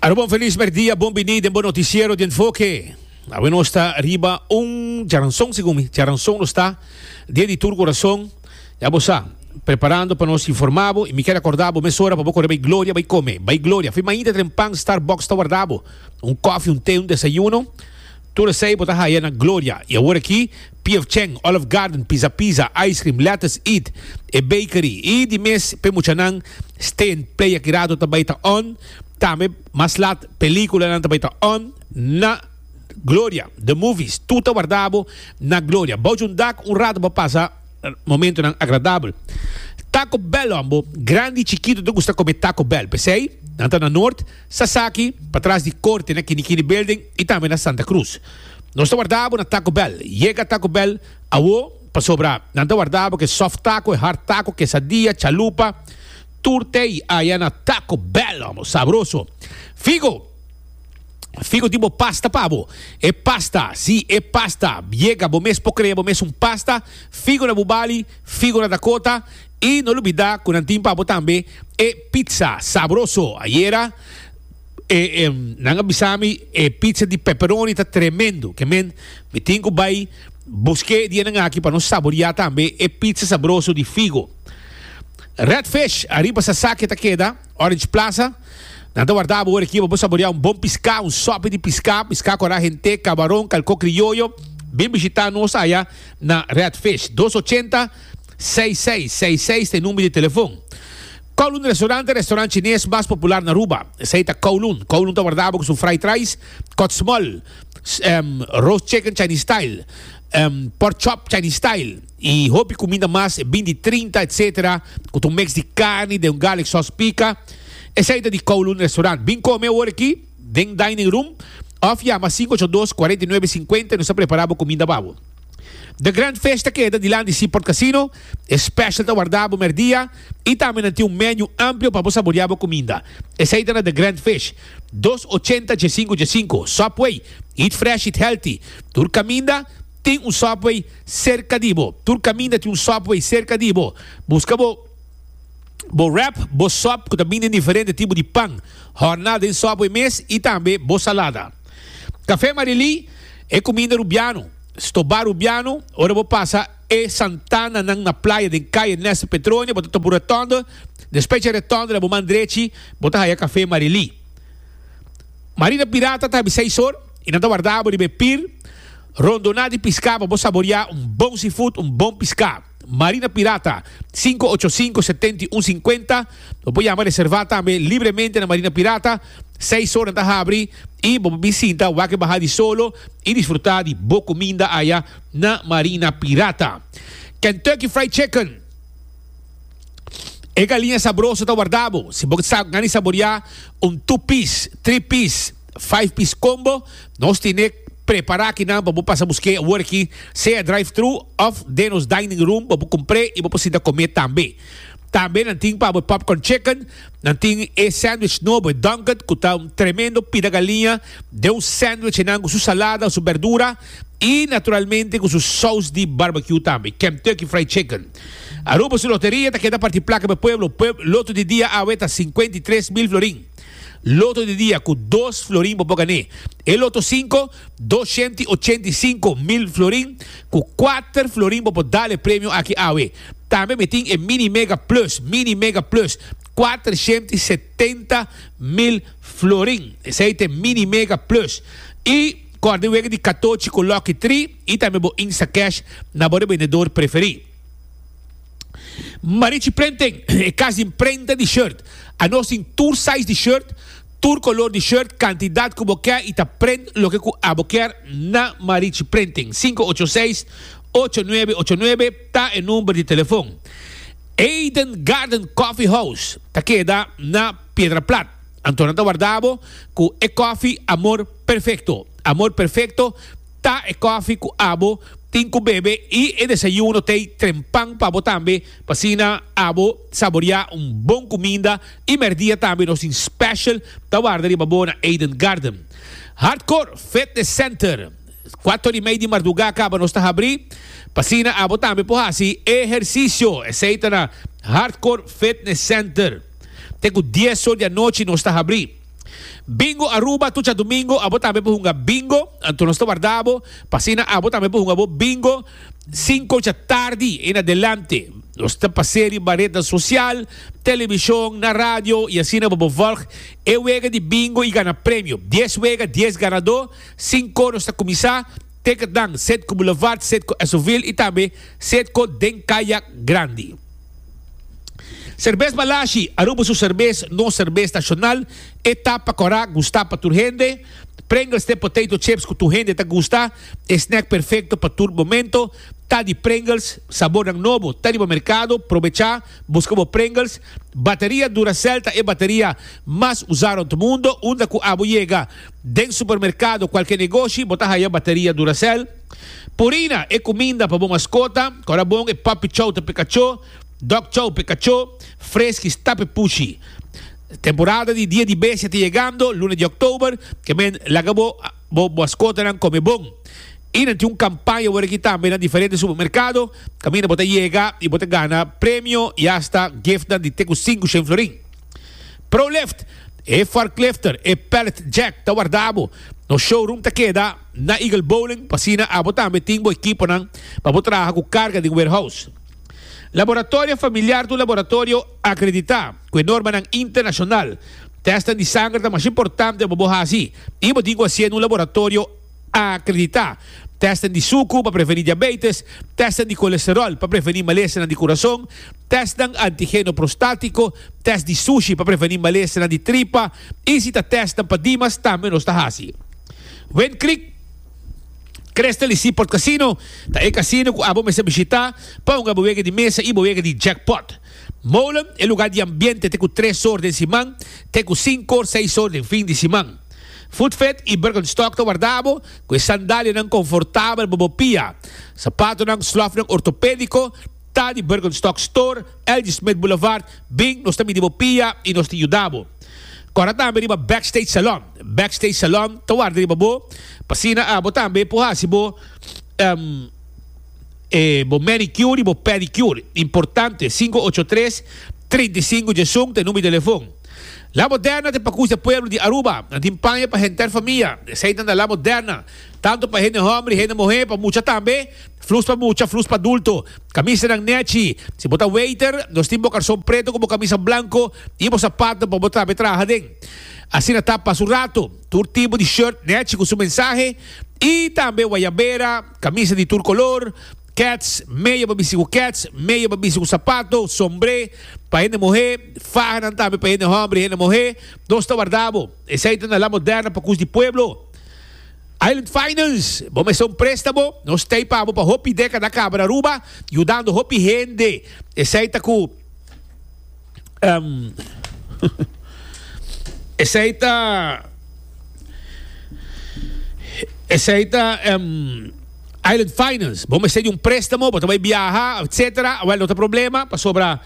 Aruba un felis merdia, bon bini den bo noticiero di Enfoke. Awe nos ta riba un djaranson segun mi, djaranson nos ta dia di tur corazon. Ya bo sa, preparando pa nos informa bo y mi kier acorda bo mesora pa bo core bay Gloria bay come. Bay Gloria, fi mainta tren pan Starbucks ta warda bo. Un koffie, un te, un desayuno. Tur esey bo ta haya na Gloria. Y awor aki, PF Chang, Olive Garden, Pizza Pizza, Ice Cream, Lettuce Eat, e bakery. Y di mes p'e muchanan Stay and Play aki rato ta bay ta on. Tambe mas lat peliculanan ta bay ta on na Gloria. The Movies, tur ta warda bo na Gloria. Bou dje un dak un rato bo pasa momentonan agradabel. Taco Bell hombo, grandi y chikito ta gusta come Taco Bell. P'esey nan ta na Noord. Sasaki, patras di Korte na Kinikini Building y tambe na Santa Cruz. Nos ta warda bo na Taco Bell. Yega Taco Bell awo pasobra nan ta warda bo ke soft taco, e hard taco, quesadilla, chalupa, tur tey aya na Taco Bell, homo, sabroso. Figo! Figo tin bo pasta pa bo. E pasta, si, e pasta. Yega, bo mes por crea bo mes un pasta. Figo na Bubali, Figo na Dakota. Y no lubida cu nan tin pa bo tambe e pizza sabroso. Ayera e, e, nan a bisa mi e pizza di pepperoni ta tremendo. Ke men, mi tin cu bay buske dianan aki pa nos saboria tambe e pizza sabroso di Figo. Red Fish, ariba Sasaki ta keda, Orange Plaza. Nan ta warda bo ora aki pa bo saboria un bon pisca, un sopi di pisca, pisca cu ara hente, cabaron, calco crioyo. Bin bishita nos aya na Red Fish. Dos ochenta. 6666 ta e number di telefon. Kowloon Restaurant ta e restaurant chines mas popular na Aruba. Esey ta Kowloon. Kowloon ta warda bo cu su fried rice, kot small, roast chicken Chinese style, pork chop Chinese style y hopi cuminda mas, e bin di 30 etc. Cu ta un mix di carni den un garlic sauce pica. Esey ta di Kowloon Restaurant. Bin come awor aki den dining room of yama 582 49 50 y nos ta prepara bo cuminda pa bo. The Grand Fish ta keda dilanti Seaport Casino. E special ta warda bo merdia y tambe nan tin un menu amplio pa bo saborea bo cuminda. Esey ta na The Grand Fish, dos ochenta djesinku djesinku, Subway, Eat fresh, eat healthy. Tur caminda tin un Subway cerca di bo. Tur caminda tin un Subway cerca di bo. Busca bo bo wrap, bo sub cu ta bini den diferente tipo di pan, horna den Subway mes y tambe bo salada. Café Marily, e cuminda Rubiano. Stobá Rubiano, ora bo pasa e santananan na playa den Calle Ernesto Petronia, bo ta topa un rotonde, despues dje rotonde na bo man drechi, bo ta haya Café Marily. Marina Pirata ta habi seis or y nan ta warda bo riba e pir rondoná di piská pa bo saboriá un bon seafood, un bon piská. Marina Pirata, sinku ocho sinku setenta i un sinkuenta. Bo por yama reservá tambe libremente na Marina Pirata. Seis ora nan ta habri i bo por bin sinta wak e baha di solo i disfrutá di bo kuminda aya na Marina Pirata. Kentucky Fried Chicken, E galiña sabroso ta warda bo. Si bo sa gana di saboriá un two piece, three piece, five piece combo, nos tine prepara akinan pa bo pasa busk'é awor aki, sea drive thru of den nos dining room bo por kumpr'é i bo por sinta kom'é tambe. Tambe nan tin pa bo e popcorn chicken, nan tin e sandwich nobo, e Dunkin', ku ta un tremendo pida galiña den un sandwich einan ku su salada, su berdura i naturalmente ku su saus di barbecue tambe, Kentucky Fried Chicken. Aruba su loteria ta keda parti plaka pa e pueblo. Loto di dia awe ta 53,000 florin. Loto di dia ku dos florin bo por gané. E loto sinku, 285,000 florin ku kuater florin bo por dal e premio aki awe. Tambe mi tin e Mini Mega Plus, Mini Mega Plus, 470,000 florin. Esei ta e Mini Mega Plus. I kòrda e wega di katochi ku Lucky Tree i tambe bo Instacash na bo rebendedor preferí. Marichi Printing, e kas di imprenta di shirt. Anos tin tur size di shirt, tur color di shirt, cantidad cu bo kier y ta print loke cu abo kier na Marichi Printing. 586 8989 ta e number di telefon. Eden Garden Coffee House ta keda na Piedra Plat. Anto nan ta warda bo cu e koffie Amor Perfecto. Amor Perfecto ta e koffie cu abo tin cu bebe y e desayuno t'ey trempan pa bo tambe pa asina abo saboria un bon cuminda y merdia tambe nos tin special ta warda riba bo na Eden Garden. Hardcore Fitness Center, Cuatro y mei di marduga caba nos ta habri pa asina abo tambe por haci ehercicio. Esey ta na Hardcore Fitness Center. Te cu dies or di anochi nos ta habri. Bingo Aruba tur djadumingo abo tambe por hunga bingo, anto nos ta warda bo pa asina abo tambe por hunga bo bingo cinco djatardi en adelante. Nos ta pas'é riba rednan social, television, na radio y asina bo por volg e wega di bingo y gana premio. Dies wega, dies ganadó, cinco nos ta cuminsa, ticketnan Setco Boulevard, Setco Esoville y tambe Setco den Caya Grandi. Serbes Balashi, Aruba su serbes, nos serbes nacional, e ta pa cora, gusta pa tur hende. Pringles t'e potato chips cu tur hende ta gusta, e snack perfecto pa tur momento. Ta di Pringles, sabornan nobo ta riba mercado, probecha, busca bo Pringles. Bateria Duracell ta e bateria mas usa rond mundo, unda cu abo yega den supermercado, cualke negoshi, bo ta haya bateria Duracell. Purina, e cuminda pa bo mascota, cora bon e puppy chow ta p'e cacho. Dog chow p'e kachó, Friskies ta p'e pushi. Temporada di Dia di Bestia ta yegando, luna di òktober, ke men laga bo bo maskotanan kome bon. I nan tin un kampaña awor aki tambe na diferente supermerkado, kaminda bo ta yega i bo ta gana premio i asta giftnan di te ku 500 florin. ProLift, e forklifter, e pallet jack ta warda bo. Nos showroom ta keda na Eagle Bowling, pa asina abo tambe tin bo ekiponan pa bo traha ku karga den warehouse. Laboratorio Familiar ta un laboratorio akreditá ku e normanan internashonal. Tèstnan di sanger ta masha importante pa bo hasi i bo tin ku hasié na un laboratorio akreditá. Tèstnan di suku pa prevení diabetes, tèstnan di kolesteròl pa prevení malesanan di kurason, tèstnan antigeno prostátiko, tèst di sushi pa prevení malesanan di tripa i si ta tèstnan pa dimas tambe nos ta hasi. Wind Creek. Crystal y Seaport Casino ta e casino cu abo mester bishita pa hunga bo wega di mesa y bo wega di jackpot. Molen, e lugar di ambiente te cu tres or den siman te cu cinco or seis or den fin di siman. Footfit y Birkenstock ta warda abo cu e sandalianan confortabel pa bo pia. Zapatonan, slofnan ortopedico ta di Birkenstock Store, LG Smith Boulevard. Bin, nos ta midi bo pia y nos ta yuda bo. Kòrda tambe riba Backstage Salon. Backstage Salon ta warda riba bo pa asina abo tambe por hasi bo e bo manicure y bo pedicure. Importante, 583 35 11 ta e number di telefon. La Moderna ta e pakus di e pueblo di Aruba. Nan tin paña pa henter famia. Esei ta na La Moderna. Tanto pa hende homber y hende muher, pa mucha tambe. Flus pa mucha, flus pa adulto. Camisanan nechi. Si bo ta waiter, nos tin bo carson preto cu bo camisa blanco y bo zapato pa bo tambe traha den. Asina ta pa su rato. Tur tipo di shirt nechi cu su mensahe y tambe guayabera, camisa di tur color, kets, meya pa bisti cu kets, meya pa bisti cu zapato, sombre pa hende muhe, fahanan tambe pa hende homber y hende muhe. Nos ta warda bo. Esey ta na La Moderna pa cus di pueblo. Island Finance, bo mester un préstamo? Nos t'ei pa bo pa hopi dékada kaba na Aruba, yudando hopi hende. Esei ta ku esei ta esei ta Island Finance. Bo mester di un préstamo, bo ta bai biaha, etcétera. Awel no ta problema, pasobra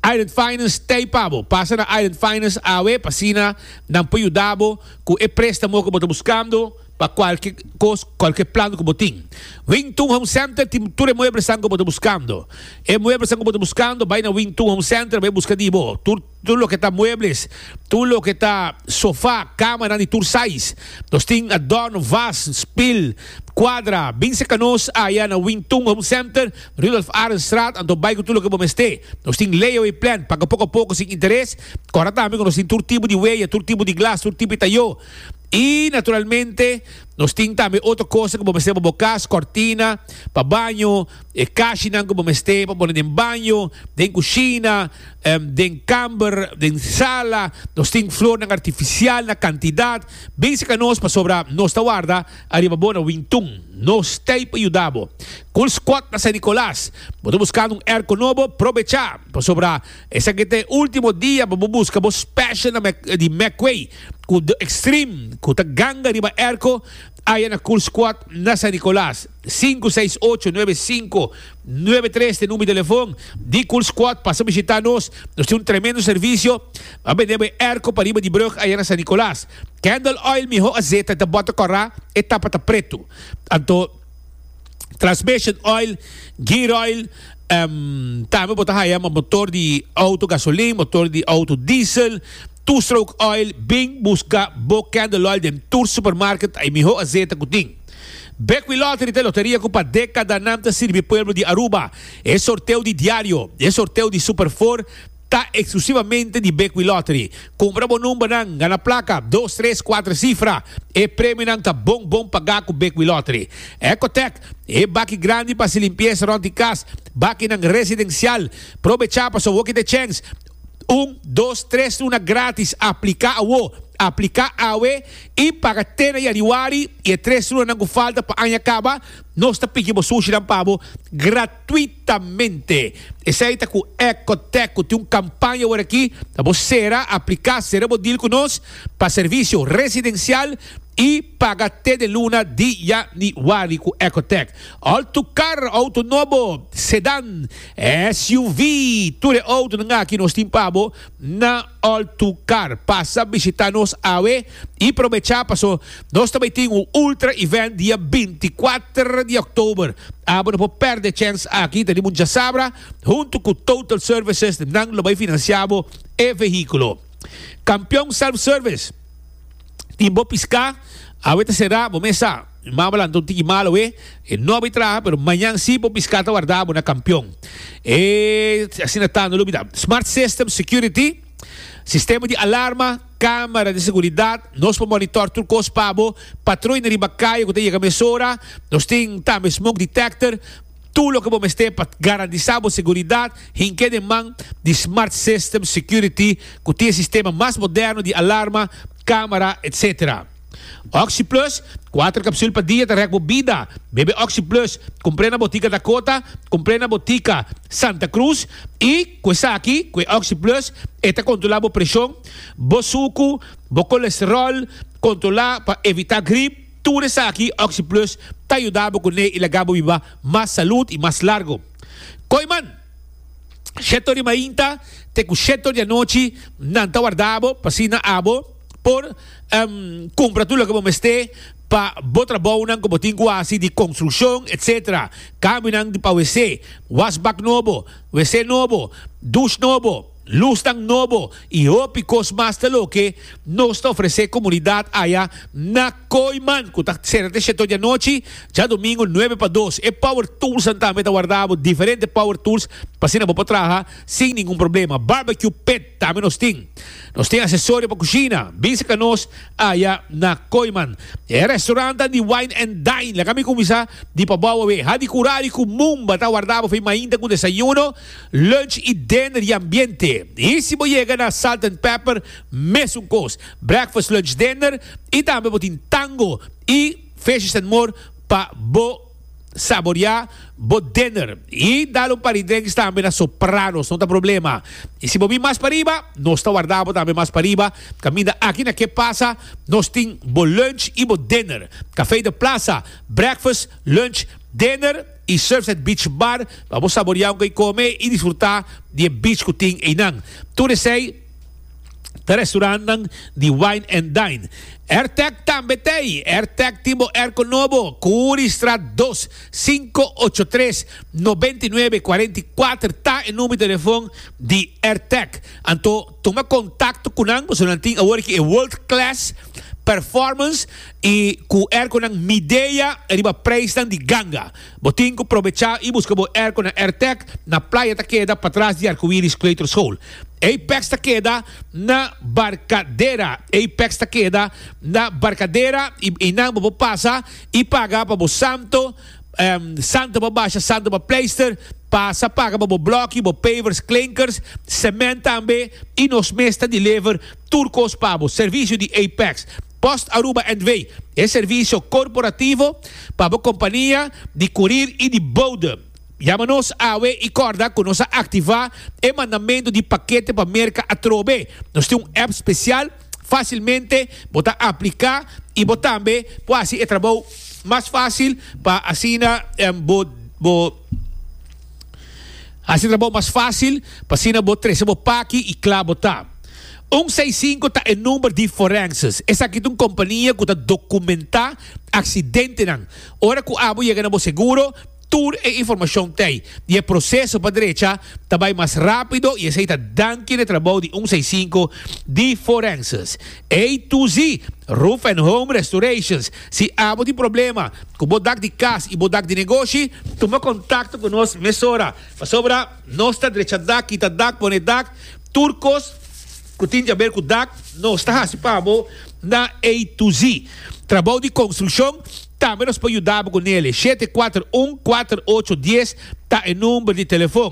Island Finance t'ei pa bo. Pasa na Island Finance awe pa asina nan por yuda bo ku e prestamo ku bo ta buskando pa kualke kos, kualke plan ku bo tin. Wing Tun Home Center tin tur e mueblesnan ku bo ta buskando. E mueblesnan ku bo ta buskando bai na Wing Tun Home Center bai buska di bo. Tur tur loke ta muebles, tur loke ta sofa, kamanan di tur size. Nos tin adorno, vas, spil, kuadra. Bin seka nos aya na Wing Tun Home Center. Rudolf Arendstraat, anto bai ku tur loke bo mester. Nos tin layaway plan, paga poko a poko sin interes. Kòrda tambe ku nos tin tur tipo di weya, tur tipo di glas, tur tipo di tayó. I naturalmente nos tin tambe otro kosnan ku bo mester pa bo kas, kòrtina pa baño, e kashinan ku bo mester pa pone den baño, den kushina, den kamber, den sala. Nos tin flornan artifisial na kantidat. Bin seka nos pasobra nos ta warda ariba bo na Wintun. Nos t'ei pa yuda bo. Cool Squad na San Nicolas. Bo ta buscando un airco nobo? Probecha! Pasobra esaki ta e ultimo dia pa bo busca bo special na di McQuay cu The Extreme cu ta ganga riba airco aya na Cool Squad na San Nicolas. Sinku seis ocho nuebe sinku nuebe tres ta e number di telefon di Cool Squad. Pasa bishita nos. Nos tin un tremendo servicio. A bende bo e airco pariba di brug aya na San Nicolas. Candle oil miho azeta ta bota kora e tapa ta pretu. Anto transmission oil, gear oil, tambe bo ta haya motor di auto gasolin, motor di auto diesel. Two Stroke Oil, bin busca bo candle oil den tur supermarket, ta e miho azeta cu tin. Bequi Lottery ta e loteria cu pa decadanan ta sirbi pueblo di Aruba. E sorteo di diario, e sorteo di Super Four ta exclusivamente di Bequi Lottery. Cumpra bo numbernan, gana placa, dos, tres, cuater cifra. E premionan ta bon bon paga cu Bequi Lottery. Ecotec, e baki grandi pa haci limpieza rond di cas, bakinan residencial. Probecha pasobra woki ta e chens. Un, dos, tres luna gratis. Aplica awo. Aplica awe y paga te na januari y e tres lunanan cu falta pa aña caba, nos ta piki bo sushinan pa bo gratuitamente. Esey ta cu Ecotec cu tin un campaña awor aki pa bo cera, aplica, cera bo deal cu nos pa servicio residencial y paga te den luna di januari cu Ecotec. Autocar, auto nobo, sedan, SUV, tur e autonan aki nos tin pa bo na Autocar. Pasa bishita nos awe y probecha paso nos ta bay tin un ultra event dia 24 di october. Abo no por perde e chens aki, ta riba un djasabra hunto cu Total Services nan lo bay financia bo e vehiculo. Campeon Self Service tin bo pisca awe ta cera bo mes sa. Mi mama lanta un tiki malo e, e no a bay traha pero mañan si bo pisca ta warda bo na Campeon. E asina ta no lubida. Smart System Security, sistema di alarma, camera di seguridad, nos por monitor tur cos pa bo, patruina riba caya cu ta yega mesora, nos tin tambe smoke detector, tur loke bo mester pa garantisa bo seguridad, hinke den man di Smart System Security cu tin e sistema mas moderno di alarma, camera, etc. Oxi Plus, kuater kapsul pa dia ta rèk bo bida. Bebe Oxi Plus, kumpr'é na botika Dakota, kumpr'é na botika Santa Cruz i ku esaki, ku e Oxi Plus, e ta kontrolá bo preshon, bo suku, bo kolesteròl, kontrolá pa evitá grip. Tur esaki Oxi Plus ta yuda bo kuné i laga bo biba mas salud i mas largo. Kooiman! Shetor di mainta te ku shetor di anochi nan ta warda bo pa asina abo por cumpra tur loke bo mester pa bo trabounan cu bo tin cu haci di construccion etc. Cambionan di pa wc, wasbak nobo, wc nobo, douche nobo, luznan nobo y hopi cos mas ta loke nos ta ofrece comunidad aya na Kooiman cu ta cera te sheto di anochi djadomingo nuebe pa dos. E power toolsnan tambe ta warda bo diferente power tools pa asina bo por traha sin ningun problema. Barbecue pit. Tambe nos tin. Nos tin asesorio pa kushina. Bin saka nos aya na Kooiman. E restaurantnan di Wine and Dine. Laga mi kuminsá di pabou awe. Hadi Kurari ku Mumba ta warda bo for mainta ku desayuno, lunch i dinner di ambiente. I si bo yega na Salt and Pepper, mesun kos. Breakfast, lunch, dinner i tambe bo tin tango i fishes and more pa bo. Saboreá bo dinner y dal un par di drinks tambe na Sopranos, no ta problema. Y si bo bin mas pariba, nos ta warda bo tambe mas pariba. Caminda aki na Ke Pasa, nos tin bo lunch y bo dinner. Café de Plaza, breakfast, lunch, dinner y Surfside Beach Bar pa bo saboreá un koi come y disfruta di e beach cu tin eynan. Tur esey. Ta restaurantnan di Wine and Dine. Airtec tambe t'ey. Airtec tin bo airco nobo. Curistraat dos, cinco ocho tres, noventa i nuebe, cuarenta i cuater ta e number di telefon di Airtec. Anto tuma contacto cu nan pasobra nan tin awor aki e world class performance y cu airconan Midea riba prijsnan di ganga. Bo tin cu probecha y busca bo airco na Airtec na Playa ta keda patras di Arcoiris Kleuterschool. Apex ta keda na Barcadera. Apex ta keda na Barcadera y einan bo por pasa y paga pa bo santo, santo pa basha, santo pa pleister, pasa paga pa bo bloki, bo pavers, klinkers, cement tambe y nos mes ta deliver tur cos pa bo. Servicio di Apex. Post Aruba NV. E servicio corporativo pa bo compania di curir y di bode. Yama nos awe i kòrda ku nos a aktivá e mandamentu di pakete pa Merka atrobe. Nos tin un app spesial, fásilmente bo ta apliká i bo tambe por hasi e trabou mas fásil pa asina bo bo hasi e trabou mas fásil pa asina bo trese bo paki i kla bo ta. Un seis sinku ta e number di Forensis. Esaki ta un kompania ku ta dokumentá aksidentenan. Ora ku abo yega na bo seguro. Tur e informashon t'ei di e proseso pa drecha ta bai mas rápido i esei ta danki na e trabou di un seisinku di Forenses. A to Z, Roof and Home Restorations. Si abo tin problema ku bo dak di kas i bo dak di negoshi, tuma kontakto ku nos mesora, pasobra nos ta drecha dak, kita dak, pone dak, tur kos ku tin di aber ku dak nos ta hasi pa bo na A to Z. Trabou di konstrukshon. Tambe nos por yuda bo ku nele. 741 4810 ta e number di telefon.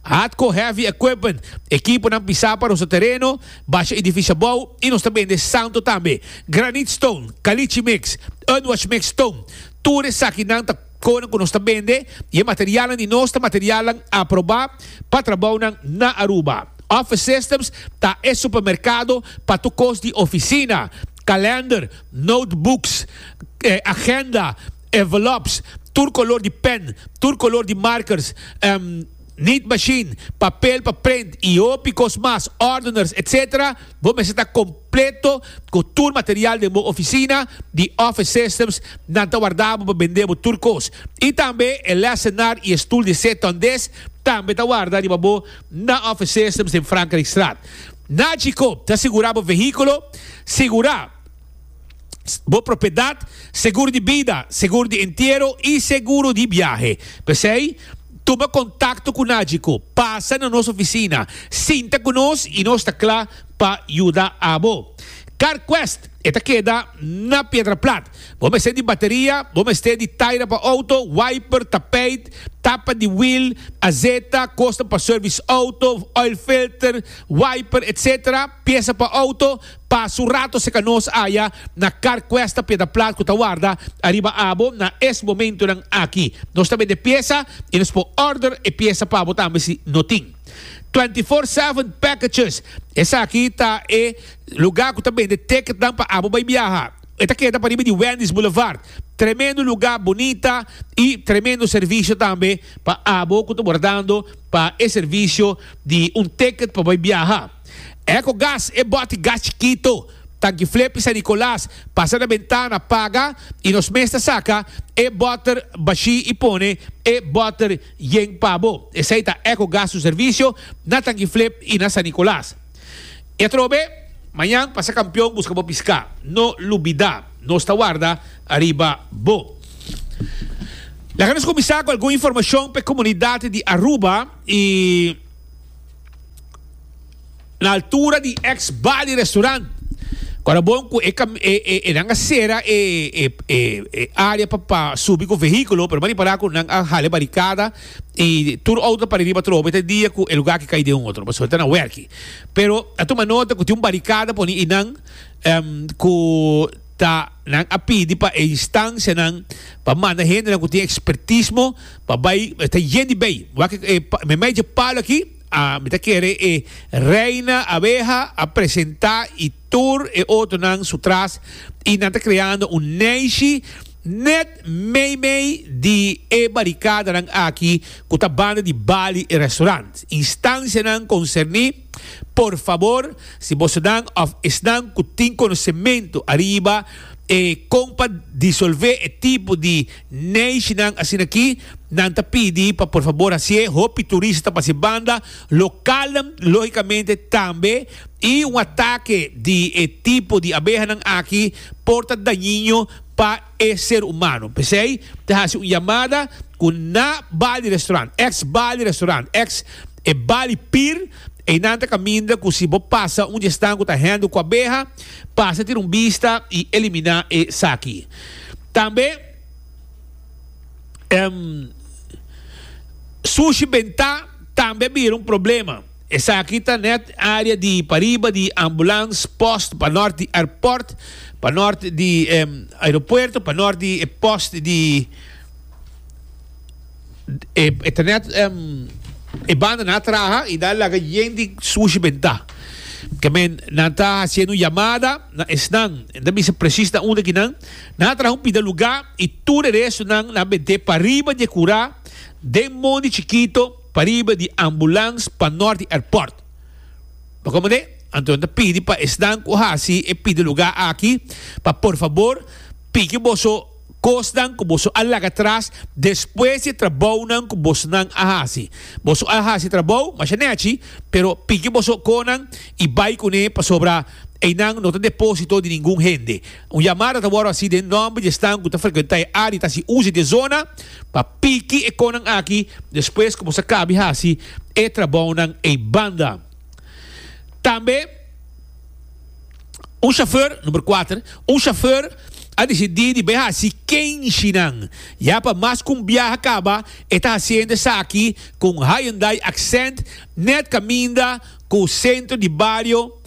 Hatco Heavy Equipment, ekiponan pisá pa rosa tereno, basha edifisio abou i nos ta bende santo tambe. Granite Stone, Caliche Mix, Unwash Mix Stone, tur esakinan ta konan ku nos ta bende i e materialnan di nos ta materialnan aprobá pa trabounan na Aruba. Office Systems ta e supermerkado pa tur kos di ofisina. Kalender, notebooks, agenda, envelops, tur color di pen, tur color di markers, neat machine, papel pa print y hopi cos mas, ordeners, etc. Bo mester ta completo cu tur material den bo oficina di Office Systems. Nan ta warda bo pa bende bo tur cos. Y tambe e lessenaar y e stoel di C-tondes tambe ta warda riba bo na Office Systems den Frankrijkstraat. Nagico ta sigurá bo vehíkulo, sigurá bo propiedat, seguro di bida, seguro di entiero i seguro di biahe. P'esei, tuma kontakto ku Nagico, pasa na nos ofisina, sinta ku nos i nos ta kla pa yuda abo. CarQuest e ta keda na Piedra Plat. Bo mester di bateria, bo mester di taira pa auto, wiper, tapijt, tapa di wiel, azeta, kosnan pa service auto, oil filter, wiper, etc. Piesa pa auto, pasa un rato serka nos aya na CarQuest Piedra Plat ku ta warda ariba abo na es momentonan aki. Nos ta bende piesa i nos por order e piesa pa bo tambe si no tin. 24/7 Packages, esaki ta e lugar ku ta bende ticketnan pa abo bai biaha. E ta keda pariba di Wendy's Boulevard. Tremendo lugar bunita y tremendo servicio tambe pa abo cu ta wardando pa e servicio di un ticket pa bay biaha. Ecogas e boti gas chikito, Tanki Flip y San Nicolas, pasa na bentana, paga y nos mes ta saca e boter bashi y pone e boter yen pa bo. Esey ta Ecogas su servicio na Tanki Flip y na San Nicolas. E atrobe, mañan pasa kampion buska bo piská. No lubidá, nos ta warda ariba bo. Laga nos kuminsá ku algun informashon pa e komunidat di Aruba i na altura di ex Bali Restaurant. Kora bon ku e e nan a sera e e área pa pa subi ku vehíkulo, pero bo a ripará ku nan a hala e barikada i tur outo ta para riba atrobe te dia ku e lugá ki kai den un otro, pasobra ta na wèrki. Pero a tuma nota ku tin un barikada poni einan ku ta nan a pidi pa e instansianan pa manda hendenan ku tin ekspertismo pa bai ta yen di bei. Wak e memei dje palo aki a mi ta kere e reina abeha a presenta i tur e otronan su tras i nan ta kreando un neishi net meimei di e barikadanan aki ku ta banda di Bali Restaurant. Instansianan konserní, por fabor, si bosonan òf esnan ku tin konosementu ariba e kon pa disolvé e tipo di neishinan asin'aki, nan ta pidi pa por fabor hasié. Hopi turista ta pasa e banda, lokalnan lógikamente tambe, i un atake di e tipo di abehanan aki por ta dañino pa e ser humano. P'esei ta hasi un yamada ku na Bali Restaurant, ex Bali Restaurant, ex e Bali Pier, einan ta kaminda ku si bo pasa un di esnan ku ta handle ku abeha, pasa tira un bista i eliminá esaki. Tambe sushi bentá tambe a bira un problema. Esaki ta net area di pariba di ambulans post pa nort di airport, pa nort di aeropuerto, pa nort di e post di e ta net e banda nan a traha y nan a laga yen di sushi benta. Ke men nan ta haciendo un yamada na esnan, nan ta bisa precies na unda kinan, nan a traha un pida luga y tur e restonan nan a bente pariba di e cura den mondi chikito. Pariba di ambulans pa nort di airport. Bo komprende? Anto nan ta pidi pa esnan ku hasi e pidi lugá aki pa por fabor piki boso. kosnan ku boso a laga atras despues di e trabounan ku bosonan a hasi. Boso a hasi trabou masha nèchi, pero piki boso konan i bai kuné pasobra einan no ta depósito di ningun hende. Un yamada ta wòrdu hasi den nòmber di esnan ku ta frekuentá e área i ta hasi uso di e zona pa piki e konan aki despues ku boso a kabi hasi e trabounan ei banda. Tambe un shofùr, number kuater, un shofùr a disidí di bai hasi kenshinan. Ya pa mas ku un biaha kaba e ta hasiendo esaki ku un Hyundai Accent nèt kaminda ku sentro di bario,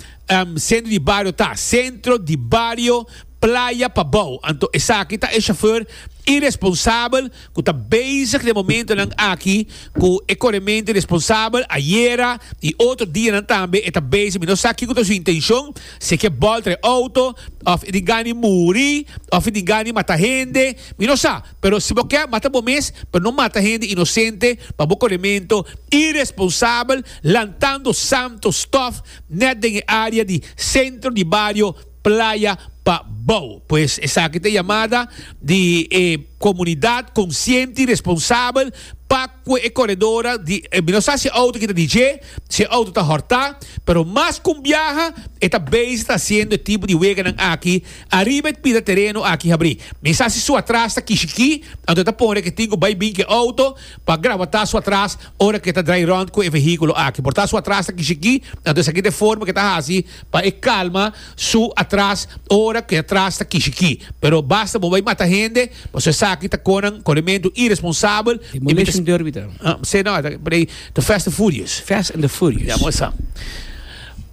sentro di bario ta, sentro di bario Playa Pabou. Anto esaki ta e shofùr iresponsabel ku ta bezig den momentonan aki ku e korementu iresponsabel. Ayera i otro dianan tambe e ta bezig. Mi no sa kiko ta su intenshon, si e ke bòltra e outo òf e tin gana di muri òf e tin gana di mata hende. Mi no sa. Pero si bo ke, mata bo mes, pero no mata hende inosente pa bo korementu iresponsabel lantando santo stòf nèt den e área di sentro di bario Playa pa bou. Pues esaki ta e yamada di e komunidat konsiente i responsabel pa ku e koredora di mi no sa si e outo ki ta di dje, si e outo ta hòrtá, pero mas ku un biaha e ta bezig ta hasiendo e tipo di weganan aki ariba e pida tereno aki habrí. Mi sa si su atras ta kishikí, anto e ta pone ku e tin ku bai bin ku e outo pa grawatá su atras ora ku e ta drai rònt ku e vehíkulo aki. Por ta su atras ta kishikí, anto esaki ta e forma ku e ta hasi Pa e kalma su atras ora ku e atras ta kishikí. Pero basta bo bai mata hende, pasobra esaki ta konan korementu iresponsabel. Demolition Derby ta. Se no, ta por ei The Fast and Furious. Fast and the Furious. Ya, bo sa.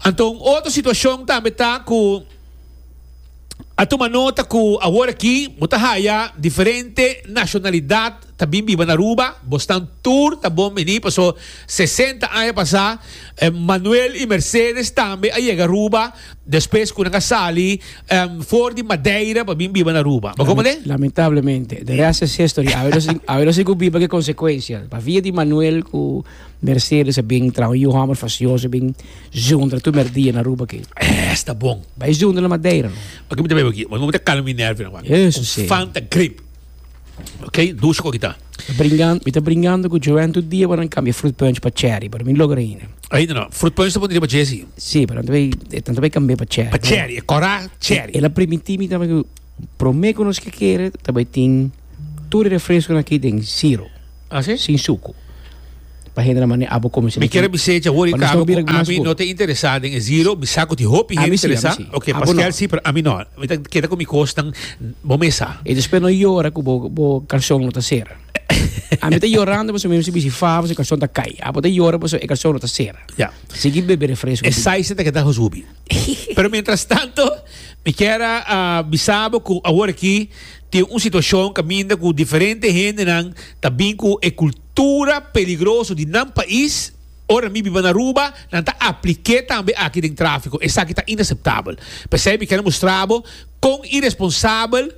Anto un otro situashon tambe ta ku a tuma nota ku awor aki bo ta haya diferente nashonalidat ta bin biba na Aruba, bosnan tur ta bon bini paso 60 aña pasa Manuel y Mercedes tambe a yega Aruba despues cu nan a sali for di Madeira pa bin biba na Aruba. Bo comprende? Lamentablemente, de rest is history. Awe nos tin, awe nos tin cu biba cu e consecuencia. Pa via di Manuel cu Mercedes a bin traha un yu homber fastioso a bin zundra tur merdia na Aruba aki. Esta bon. Bai zundra na Madeira no. Aki mi ta bebe aki. Mi ta calma mi nervionan wak. Eso si. Fanta grape. Ok, dushi ku kita. Bringan, mi ta bringando ku Joanne tur dia pa nan kambia fruit punch pa cherry, pero mi logra ainda. Ainda no. Fruit punch ta pone riba dje si. Si, pero nan ta bai, nan ta bai kambia pa cherry. Pa cherry, e kora cherry. El a primintí mi tambe ku promé ku nos ke kere ta bai tin tur e refresconan aki den zero. Ah, si? Sin suku. Pa hende na mane abo come Mi kier bisa echa awor y caba cu ami no ta interesa den e zero, mi sa cu tin hopi hende interesa. Ok, Pascal si, pero ami no. Mi ta keda cu mi cosnan bo mesa. Y despues no yora cu bo bo calzon no ta cera. Ami ta yorando pasobra mi mester bisti favo pasobra e calzon ta cay. Abo ta yora pasobra e calzon no ta cera. Ya. Sigui bebe refresco. E size ta keda hubi. Pero mientras tanto, mi kier a bisa bo cu awor aki tin un situacion caminda cu diferente hendenan ta bin cu e cultura peligroso di nan pais, ora mi biba na Aruba, nan ta aplik'é tambe aki den trafico. Esaki ta inaceptabel. P'esei mi kier a mustra bo con iresponsabel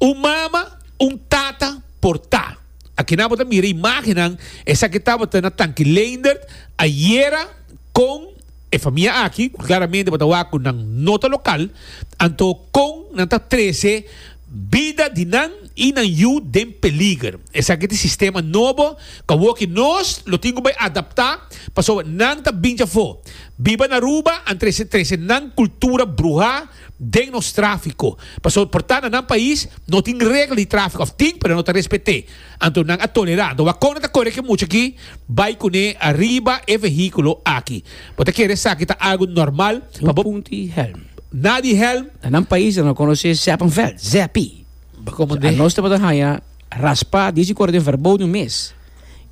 un mama, un tata por ta. Akinan bo ta mira imagennan, esaki tabata na Tanki Leendert ayera con E famia aki, ku klaramente bo ta wak ku nan no ta lokal, anto kon nan ta trese bida di nan i nan yu den peliger? Esaki ta e sistema nobo ku awoki nos lo tin ku bai adaptá pasobra nan ta bin djafó. Biba na Aruba an trese trese nan kultura bruhá den nos tráfiko. Pasobra por ta na nan pais no tin regla di tráfiko òf tin pero no ta respet'é. Anto nan a tolerá. Anto wak kon nan ta kore ku e mucha aki bai kuné ariba e vehíkulo aki. Bo ta kere esaki ta algu normal pa bo. Un punti hèlm. Na di hèlm. Na nan pais nan no konosé Zeppenveld, Zeppie. Bo A nos tabata haña raspá dies di kore den verboden mes.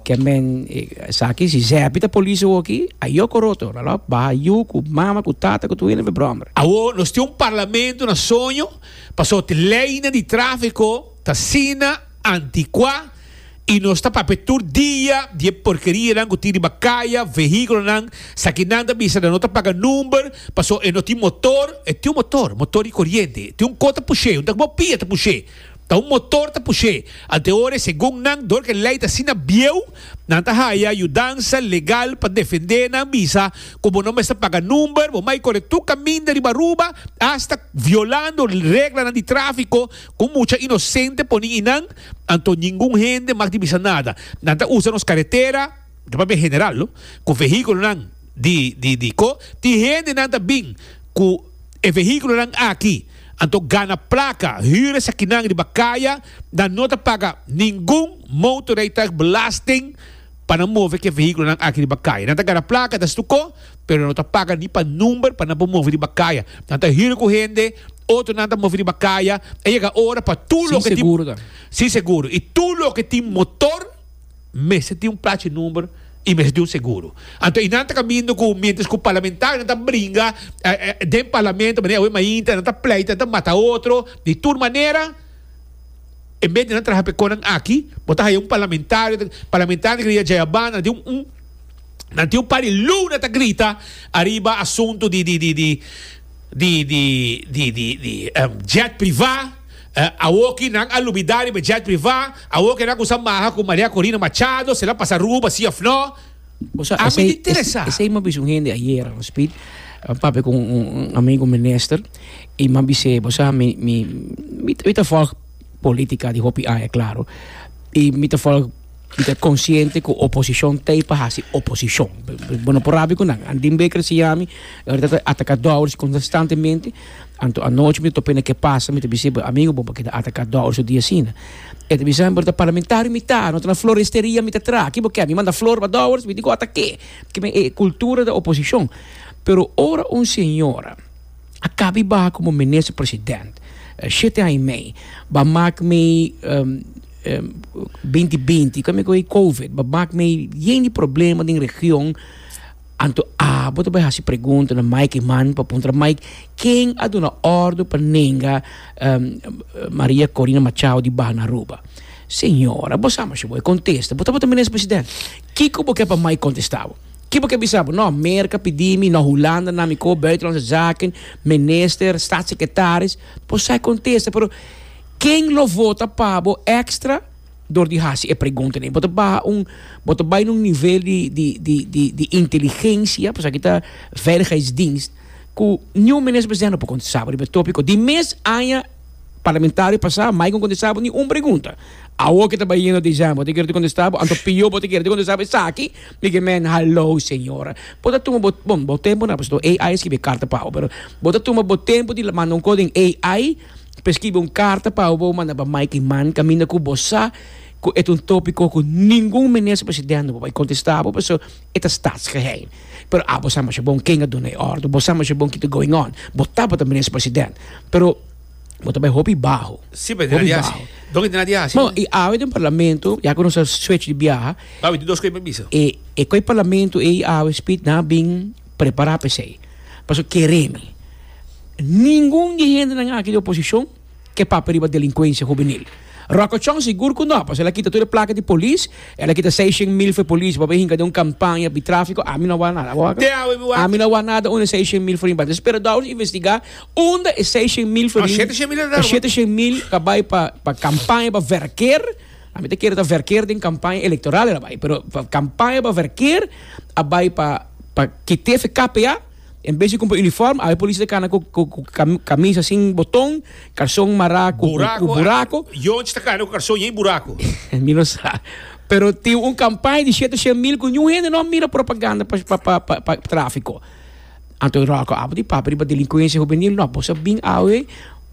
Ke men esaki si Zeppie ta polis awoki, ayó koroto. Nan lo baha yu ku mama ku tata ku tur hende verbròmber. Awor nos tin un parlamento na soño pasobra te leinan di tráfiko ta asina. Anticuá y nos ta papia tur dia di e porkerianan cu tin riba caya, vehiculonan, sakinan ta bisa nan no ta paga number paso e no tin motor, e tin un motor, motor di coriente, tin un co ta push'é, un ta bo pia ta push'é. Ta un motor ta push'é. Ante ora segun nan dor ku e lei ta asina bieu, nan ta haya yudansa legal pa defendé nan bisa ku bo no mester paga number, bo mai kore tur kaminda riba Aruba, asta violando reglanan di tráfiko ku mucha inosente poni einan, anto ningun hende mag di bisa nada. Nan ta usa nos karetera, ta papia general lo, ku vehíkulonan di di di ko, tin hendenan ta bin ku e vehíkulonan aki. Anto gana plaka, hür esakinan riba kaya, nan no ta paga ningun motorrijtuigbelasting pa nan move ku e vehíkulonan aki riba kaya. Nan ta gana plaka, ta stuko, pero nan no ta paga ni pa number pa nan por move riba kaya. Nan ta hür ku hende, otronan ta move riba kaya. A yega ora pa tur Sin loke tin seguro tambe. Sin seguro. I tur loke tin motor. Mester tin un plachi number y mester tin un seguro. Anto y nan ta caminda cu mientras cu parlamentarionan ta bringa den parlamento manera awe mainta nan ta pleita nan ta mata otro di tur manera en bes di nan traha pe conan aki bo ta haya un parlamentario parlamentario ta grita djayabanda nan tin un nan tin un par di luna ta grita ariba asunto di di di di di di di di di jet priva. Awoki nan a lubida riba e jet priva, awoki nan a kusa maha ku Maria Corina Machado, si el a pasa Aruba si of no. Bo sa, A mi esei, ta interesa. esei m'a bisa un hende ayera, no Speed, a papia ku un amigo minister i m'a bis'é, bo sa, mi, mi, mi ta volg politica di hopi aña, claro, i mi ta volg. Mi ta konsiente ku oposishon t'ei pa hasi oposishon. Bo no por rabia ku nan. Andin Baker siña mi, e ta ataka Dowers konstantemente. Anto anochi mi ta topa na ke pasa, mi ta bisa e amigo bo pa keda ataka Dowers tur dia asina. E ta bisa mi, pero ta parlamentario mi ta, no ta na floresteria mi ta traha. Ki bo ke? Mi manda flor pa Dowers, mi di ku atak'é. Kimen e kultura di oposishon. Pero ora un señora a kaba i baha komo minister president, shete aña i mei, ba mak mi. 2020 kami ku e covid ba mak mei yen di problema den region anto abo ta bai hasi pregunta na Mike Eman pa puntra Mike ken a duna ordo pa nenga Maria Corina Machado di baha na Aruba señora bo sa masha bo e kontesta bo tabata minister president kiko bo ke pa Mike kontesta bo ki bo ke bisa bo no Merka pidi mi no Hulanda na mi ko buitenlandse zaken minister staatssecretaris bo sa e kontesta pero Ken lo vota pa bo extra dor di hasi e preguntanan? Bo ta baha un, bo ta bai na un nivel di di di di di inteligencia, pasobra aki ta veiligheidsdienst, ku niun minister presidente no por kontestá bo riba e tópiko. Di mes aña parlamentario pasá, Mike no kontestá bo ni un pregunta. Awor ke ta bai yendo desèmber, bo ta kere kontestá bo, anto pió bo ta kere kontestá bo esaki, mi ke men, haló señora. Bo ta tuma bo, bon, bo tempu na, pasobra AI a skibi e karta pa bo, pero bo ta tuma bo tempu di manda un kos den AI, Pa skibi un karta pa bo manda pa Mike Eman kaminda ku bo sa ku e ta un topiko ku ningun minister presidente no por bai kontestá bo pasobra e ta staatsgeheim. Pero abo sa masha bon ken a duna e ordu, bo sa masha bon ki ta going on, bo tabata minister president pero bo ta bai hopi baho. Sí, pero Hopi di hasi. baho. Donke di na di hasi. Bon, i awe den parlamento, ya ku nos a switch di biaha, Awe tin dos kos pa bisa. e e koi parlamento ei awe speed nan a bin prepará pa esei. Pasobra kere mi. Ningun di e hendenan aki di oposishon ke papia riba delinkuensia hubenil. Rocco Chong sigur ku no, pasobra el a kita tur e plaka di polis, el a kita seishent mil for e polis pa bai hinka den un kampaña di trafiko, ami no a wak nada. Abo wak? Te awe mi wak. Ami no a wak nada unda e seishent mil florin bai. Entonces pero Dowers investigá unda e seishent mil No, florin, shete shen mil a e shete shen mil ka bai pa pa kampaña pa verkeer, ami ta kere ta verkeer den kampaña elektoral el a bai, pero pa kampaña pa verkeer a bai pa pa kit'é for KPA. En bes di kumpra uniform, awe polis ta kana ku kamisa sin boton, karson mará ku burako. Yonchi ta kana ku karson yen burako. Mi no sa. Pero tin un kampaña di shete shen mil ku niun hende no a mira propaganda pa trafiko. Anto Rocco abo di papia riba delinkuensia hubenil, no, bos a bin awe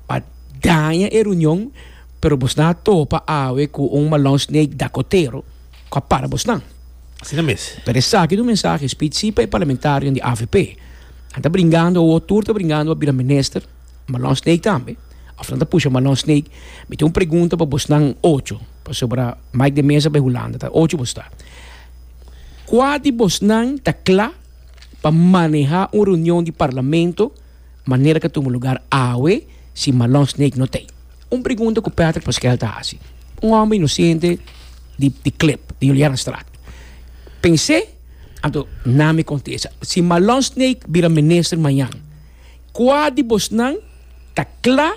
pa daña e reunion, pero bos nan a topa awe ku un malon snake dakotero ku a para bosnan. Asina mes. Pero esaki ta un mensahe spitsi pa e parlamentarionan di avp. Nan ta bringando awor, tur ta bringando pa bira minister, Marlon Sneek tambe, of nan ta pusha Marlon Sneek. Mi tin un pregunta pa bosnan ocho, pasobra Mike de Meza bai Hulanda, ta ocho bos ta. Kua di bosnan ta kla pa maneha un reunion di parlamento manera ku a tuma lugar awe si Marlon Sneek no t'ei? Un pregunta ku Patrick Paskel ta hasi. Un hòmber inosente di di klip di Julianastraat. Pens'é, anto nan mi kontesta, si Marlon Sneek bira minister mañan, kua di bosnan ta kla?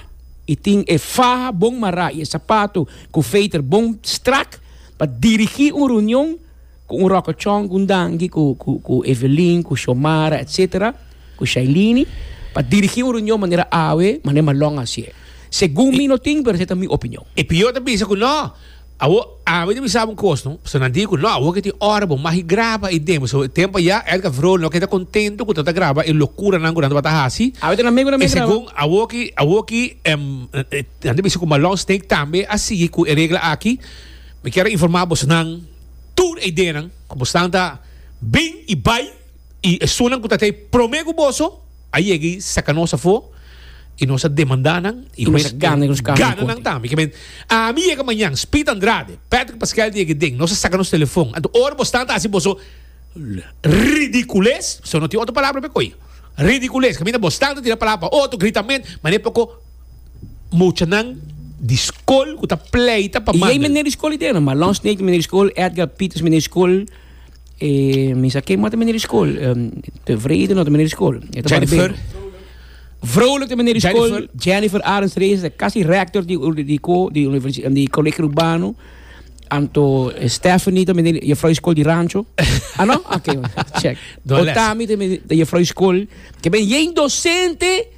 i tin e faha bon mará i e sapato ku veter bon strak pa dirigí un reunion ku un ròkòchòn, ku un danki, ku ku ku Evelyn, ku Xiomara etsetera, ku Shailini pa dirigí un reunion manera awe, manera Malon a hasié. Segun mi no tin, pero esei ta mi opinion. E pió ta bisa ku no. Awor, ami ta bisa bo un kos, no. Pasobra nan di ku no, awor ke tin ora bo mag graba i den. Pasobra e tempu ayá Edgar Vrolijk no keda kontento ku ta ta graba e lokuranan ku nan tabata hasi. Awe ta nan mes ku nan mes graba. E segun awor ki, awor ki nan ta bisa ku Malon Snake tambe a sigui ku e regla aki. Mi kier a informá bosonan tur e ideanan ku bosnan ta bin i bai i esunnan ku ta tei promé ku boso. A yega i saka nos afó i nos a demandá nan i I nos a gana nos kaso gana nan tambe. Ke men, ami yega mañan, Speed Andrade, Patrick Pascal di yega den, nos a saka nos telefon. Anto ora bo stan ta hasi boso ridicules, so no tin otro palabra pa e koe, ridicules, kaminda bo stan ta tira palabra pa otro, gritament, manera poko muchanan di skol ku ta pleita pa I ei manda. meneer di skol i den, Marlon Snake meneer di skol, Edgar Pieters meneer di skol. E mi sa ken mata meneer di skol. Tevreden no ta meneer di skol. E ta Jennifer. barbero. Vrolijk ta meneer di skol. Jennifer. Jennifer Arends Reyes ta kasi rector di di ko di universi di Colegio Urbano. Anto Stephanie ta meneer juffrouw di skol di Rancho. Ah no? Oké, check. Doe les. Otami ta meneer ta juffrouw di skol. Ke ben yen docente.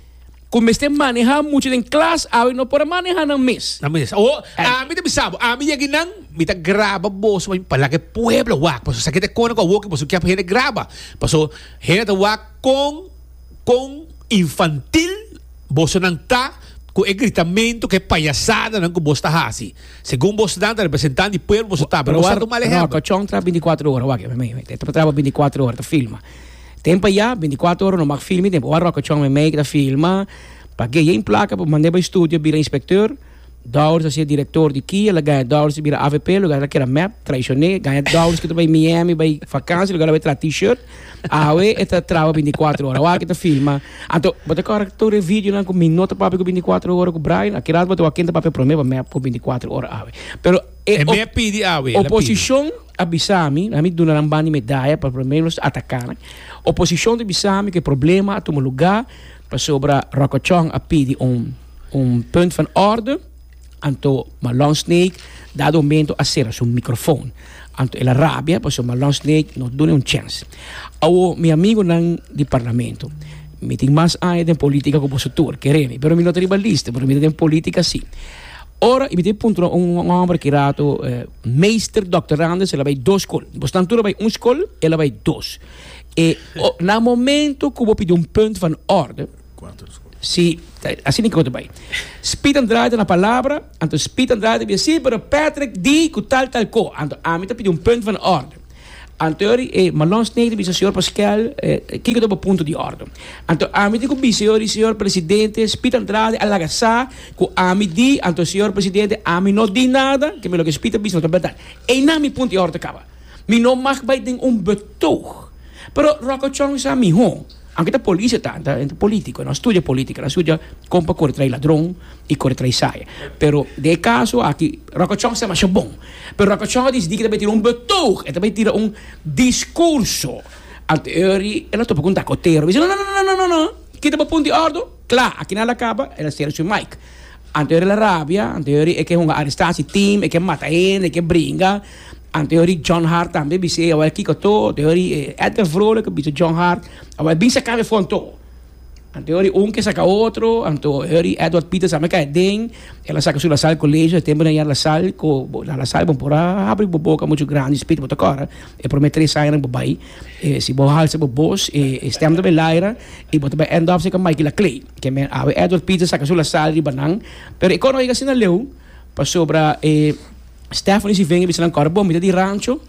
Ku mester maneha mucha den klas awe no por a maneha nan mes. Nan mes. Awo, ami ta bisa bo, ami yega nan, mi ta graba boso pa laga e pueblo wak. Pasobra esaki ta e kona ku awor ku boso kier pa hende graba. Pasobra hende ta wak kon, kon infantil bosonan ta ku e gritamentu, ku e payasadanan ku bos ta hasi. Segun bosonan ta representant di pueblo boso ta, pero boso ta un mal ehèmpel. Rokochon traha bintikuater ora, wak, e ta traha bintikuater ora, ta filma. Tempo ya, binticuatro ora no mag filmi tempo. Ora Rocco Chong memey ta filma, pa ke yen placa pa mande bay studio bira inspecteur. Dowers a ser director di kia, la gana Dowers bira avp, lugar la kera mep, traicione, gana Dowers ki ta bay Miami bay vakantie, lugar la bay traha t-shirt. Awe e ta traha binticuatro ora, wak e ta filma. Anto, bo ta kòrda tur e videonan ku mi no ta papia ku binticuatro ora ku Brian? Aki rato bo ta wak ken ta papia prome pa mep ku binticuatro ora awe. Pero e E mep pidi awe, el a pidi. oposicion. A bisa mi, ami duna nan banda di medaya pa por lo menos ataka nan. Oposishon ta bisa mi ku e problema a tuma lugá pasobra Rockochong a pidi un un punt van orde, anto Marlon Snake dado momento a sera su microfoon. Anto el a rabia pasobra Marlon Snake no duna un chèns. Awo mi amigonan di parlamento, mi tin mas aña den politica ku boso tur, kere mi, pero mi no ta riba lista, pero mi ta den politica si. Ora i mi tin puntra un homber ki rato, meester doctorandus, el a bai dos skol. Bosnan tur a bai un skol, el a bai dos. E na momento ku bo pidi un punt van orde, si, asina ke bo ta bai. Speed Andrade ta na palabra, anto Speed Andrade ta bisa, si, pero Patrick di ku tal tal ko. Anto ami ta pidi un punt van orde. Anto yori e Marlon Snake ta bisa señor Pascal, kiko ta bo punto di orde? Anto ami tin ku bisa yori señor presidente, Speed Andrade a laga sa ku ami di, anto señor presidente ami no di nada, ke mi loke Speed a bisa no ta bèrdat. Einan mi punto di orde ta kaba. Mi no mag bai den un betoog. Pero Rocco Chong sa mihó. Aunke ta polis e ta, e ta politico, e no a studia politica, el a studia con pa core trai ladron y core trai saya. Pero den e caso aki, Rocco Chong sa masha bon. Pero Rocco Chong a dicidi cu e ta bay tira un betoog, e ta bay tira un discurso. Anto Eury, el a topa cu un dakotero, a bisa, no, no, no, no, no, no, kita bo punto di ordo, cla, aki nan a caba, el a cera su mic. Anto Eury el a rabia, anto Eury e ke hunga arestatie team, e ke mata hende, e ke bringa. Anteori John Hart tambe bis'é awel kiko to, anteori Edgar Vrolijk a bisa John Hart awel bin saka mi for anto. Anteori un ke saka otro, anteori Edward Peters tambe kai aden, el a saka su La Salle College, e temponan ya La Salle ku na La Salle bo por a habri bo boka muchu grandi spit bo ta kòrda e prome tres añanan bo bai si bo halsa bo bos e stem ta bai laira i bo ta bai end up seka Mikey Laclay. Ke men awe Edward Peters saka su La Salle riba nan, pero e kos no yega asina leu pasobra e. Stephanie si venga bisa nan kòrda bon mi ta di rancho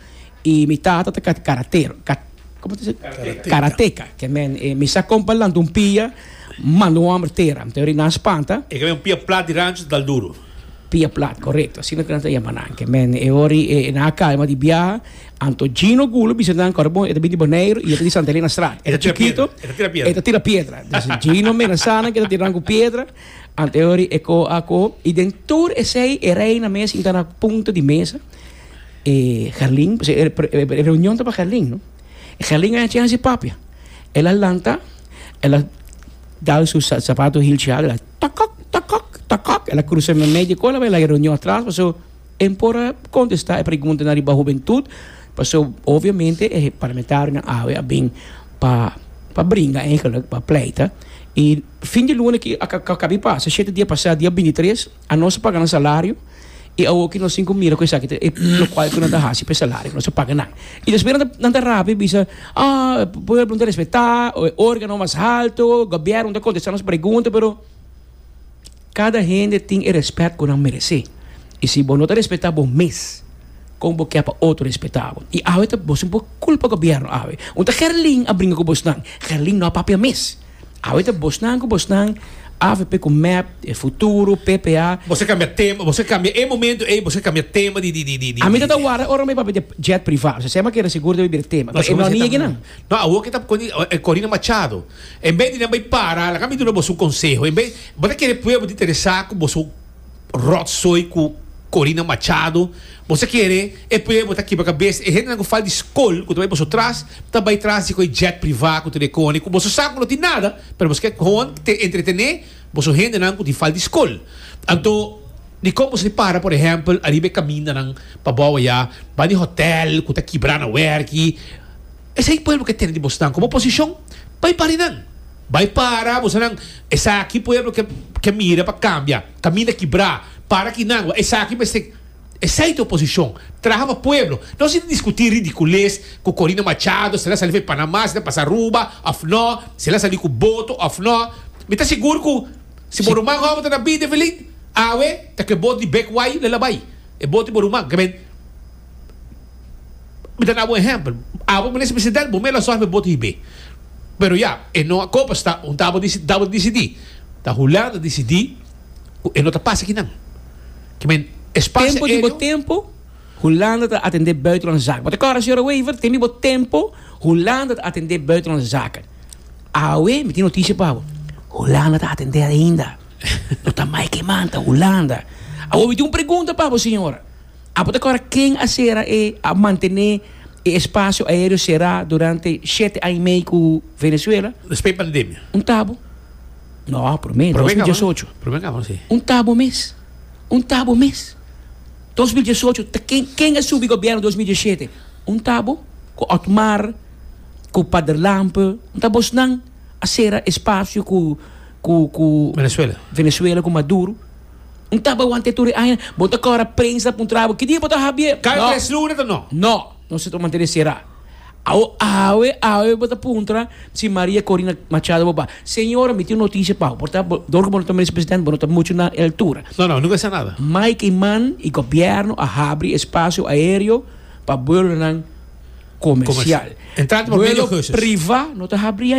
i mi tata ta karatero ka komo ta bisa karateka ke men mi sa kon pa lanta un pia manda un hòmber tera anto ri nan spanta. E ke men un pia plat di rancho ta dal duro. Pia plat korekto asina ku nan ta yama nan ke men e ora e nan a kalma di biaha anto Gino Gulo bisa nan kòrda bon e ta bin di Boneiru i e ta di Santa Elena Straat e ta chikito e ta tira piedra Gino menasá nan ke ta tira nan ku piedra. Anteori e ko a ko i den tur esei e reina mes sinta na punta di mesa e Gerlin pasobra e reunion tabata Gerlin no e Gerlin a haña chèns di papia el a lanta el a dal su sapato hilchi el a tokok tokok. Takak, el a cruza meimei di cola bai laga reunion atras paso e por a contesta e preguntanan riba hubentud paso obviamente e parlamentarionan awe a bin pa pa bringa eigenlijk pa pleita y fin di luna aki a caba di pasa shete dia pasa dia bintitres a nos a paga nan salario y awoki nos tin cu mira cu esaki ta e locual cu nan ta haci pa e salario cu nos a paga nan y despues nan ta rabia y bisa ah pueblo no ta respeta e organo mas halto gobierno no ta contesta nos pregunta pero Kada hende tin e rèspèt ku nan meresé. I si bo no ta respetá bo mes, kon bo ke pa otro respetá bo? I awe ta boso por kulpa gobièrnu awe. Un ta Gerlin a bringa ku bosnan. Gerlin no a papia mes. Awe ta bosnan ku bosnan, avp ku mep, e futuro, PPA. Boso a kambia tema, boso a kambia e momento ei, boso a kambia tema di di di di. Ami ta ta warda ora mi papia di jet privá. Osea, mi a kere sigur debe bira tema. Pero e no a niega nan. No, awor ke ta Corina Machado. En bes di nan bai para, laga mi duna boso un konseho. En bes, bo ta kere pueblo ta interesá ku boso ròtsooi ku Corina Machado? Boso ta kere e pueblo ta kibra kabes? E hendenan ku fal di skol ku ta bai boso tras, ta bai tras di ku e jet privá ku tur e kone, ku boso sa ku no tin nada, pero boso ke gewoon te entretené boso hendenan ku tin fal di skol. Anto, dikon boso di para, por ehèmpel, ariba e kamindanan pa bou ayá, ban di hotèl ku ta kibrá na wèrki? Esei pueblo ke tene di bosnan komo oposishon, bai para nan. Bai para bosonan, esaki pueblo ke ke mira pa kambia, kaminda kibrá, para kinan, esaki mester, esei ta oposishon, traha pa pueblo. No si diskutí ridikules ku Corina Machado, si el a sali for Panama, si el a pasa Aruba òf no, si el a sali ku boto òf no. Mi ta sigur ku si bo ruman hòmber ta na bida, Evelyn, awe ta ku e boto di Bek Wai lo el a bai, e boto di bo ruman. Mi ta dabo un ehempel. Abo minister president bo mela sòrg pa e boto hib'é. Pero ya, e no a kopa sta un tabo disi tabo disidí. Ta Hulanda disidí ku e no ta pasa kinan. Ke men espasio Tempo di bo aéreo. tempo, Hulanda ta atendé buitenlandse zaken. Bo ta kòrda señora Wever, tempo di bo tempo, Hulanda ta atendé buitenlandse zaken. Awe mi tin notisia pa bo, Hulanda ta atendé ainda. No ta Mike Eman, ta Hulanda. Awor mi tin un pregunta pa bo señora. Abo ta kòrda ken a sera e a mantené e espasio aéreo será durante shete aña i mei ku Venezuela? Despues di pandemia. Un tabo. No, promé, 2018. Promé kaba, si. Un tabo mes. Un tabo mes. 2018, ta ken, ken a subi gobièrnu 2017? Un tabo ku Otmar, ku Pader Lampe, un ta bosnan a sera espasio ku, ku, ku. Venezuela. Venezuela ku Maduro. Un taba wante tur e aña. Bo ta kòrda prensa puntra bo, ki dia bo ta habie? Kada tres luna ta no. No, nos ta mantene será. Awo, awe, awe bo ta puntra si Maria Corina Machado bo ba. Señora, mi tin un notisia pa bo. Por ta, dor ku bo no ta minister presidente, bo no ta muchu na e altura. No, no, nunka sa nada. Mike Eman i gobièrnu a habri espasio aéreo pa buelonan komersial. Entrante por medio Buelo augustus. privá no ta habri ainda.